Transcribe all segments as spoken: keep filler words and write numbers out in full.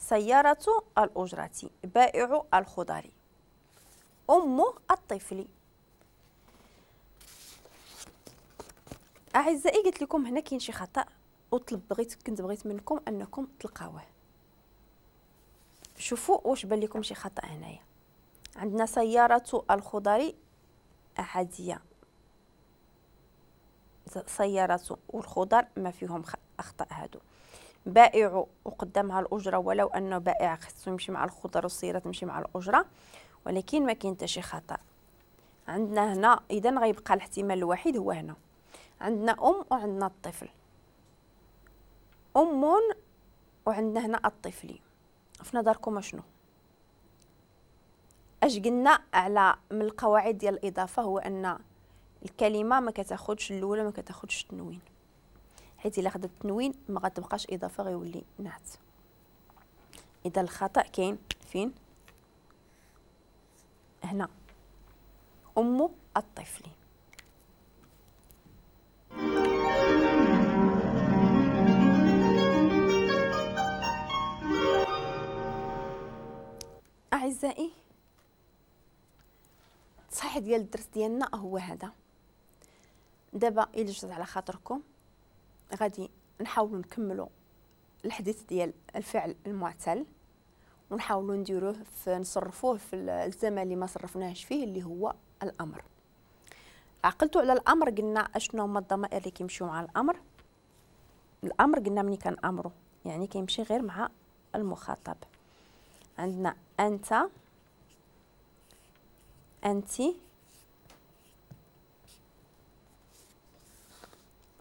سيارة الأجرة، بائع الخضر، أم الطفل. أعزائي قلت لكم هنا كاين شي خطأ وطلب بغيت كنت بغيت منكم أنكم تلقاوه. شوفوا واش بان لكم شي خطأ هنايا. عندنا سيارة الخضر عادية، سيارة والخضر ما فيهم أخطاء هادو. بائع وقدامها الأجرة، ولو أنه بائع خصو يمشي مع الخضر والسيارة تمشي مع الأجرة، ولكن ما كاين حتى شي خطأ. عندنا هنا إذا غيبقى الاحتمال الوحيد هو هنا. عندنا أم وعندنا الطفل، أم وعندنا هنا الطفل. في نظركم شنو؟ اش قلنا على من القواعد ديال الإضافة؟ هو أن الكلمة ما كتاخدش الأولى ما كتاخدش التنوين، حيت إلا خدت التنوين ما غتبقاش إضافة، غيولي نعت. إذا الخطأ كاين فين؟ هنا، أم الطفل. أعزائي التصحيح ديال الدرس ديالنا هو هذا. دابا إلا جات على خاطركم غادي نحاولوا نكملوا الحديث ديال الفعل المعتل، ونحاولوا نديروه في نصرفوه في الزمن اللي ما صرفناهش فيه اللي هو الأمر. عقلتوا على الأمر؟ قلنا اشنو هما الضمائر اللي كيمشيو مع الأمر. الأمر قلنا ملي كنأمرو يعني كيمشي غير مع المخاطب. عندنا أنت، أنتي،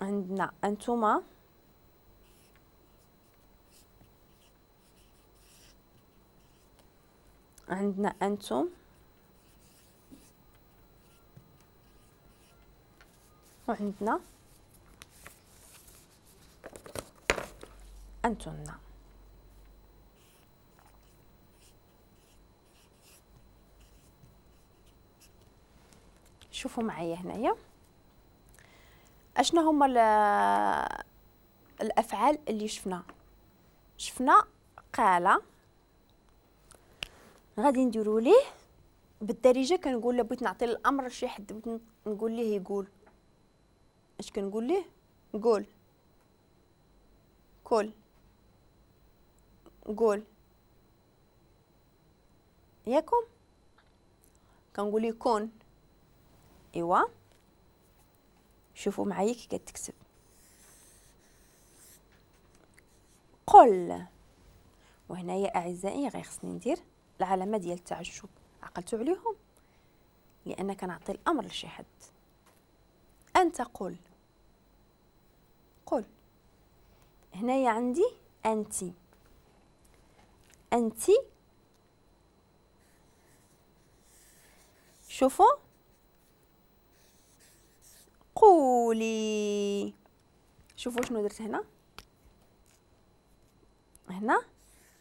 عندنا أنتما، عندنا أنتم، وعندنا أنتن. شوفوا معايا هنايا اشنا هما الافعال اللي شفنا. شفنا قال، غادي نديرو ليه بالدارجة كنقول له بغيت نعطي الامر لشي حد، بغيت نقول ليه يقول، اش كنقول ليه؟ قول، كل، قول، ياكم كنقول ليه كون. ايوا شوفوا معايا كي كتكتب قل. وهنايا اعزائي غير خصني ندير العلامة ديال التعجب، عقلتوا عليهم؟ لان كنعطي الامر لشي حد. انت قل، قل. هنايا عندي انتي، انتي شوفوا قولي. شوفوا شنو درت هنا. هنا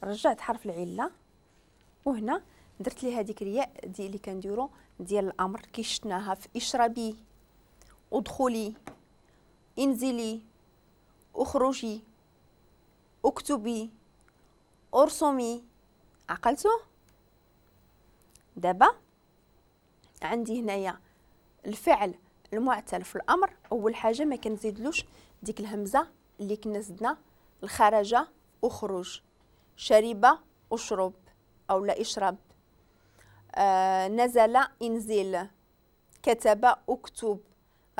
رجعت حرف العلة، وهنا درت لي هذيك الياء دي اللي كنديرو ديال الامر كي شفناها في اشربي، ادخلي، انزلي، اخرجي، اكتبي، ارسمي. عقلتو؟ دابا عندي هنايا الفعل المعتل في الامر. اول حاجة ما كنزيدلوش ديك الهمزة اللي كنا زدنا الخرجه اخرج، شرب اشرب او لا اشرب، آه نزل انزل، كتب اكتب،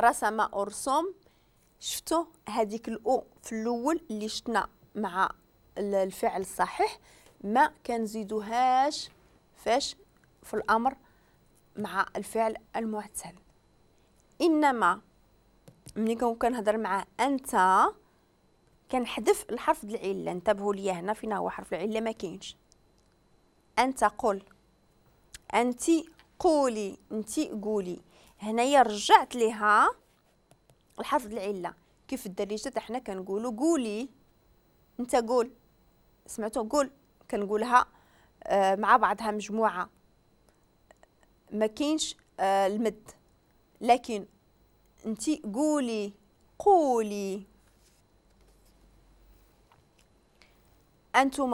رسم ارسم. شفتوا هذيك الاو في الاول اللي شفنا مع الفعل الصحيح ما كنزيدوهاش فاش في الامر مع الفعل المعتل. انما ملي كنهضر مع انت كنحذف الحرف ديال العلة. انتبهوا ليا هنا فينا هو حرف العلة ما كاينش. انت قل، انت قولي، انت قولي. هنايا رجعت ليها الحرف ديال العلة. كيف الدارجة حنا كنقولوا قولي، انت قول، سمعتوا قول، كنقولها مع بعضها مجموعة، ما كاينش المد، لكن انت قولي، قولي. انتما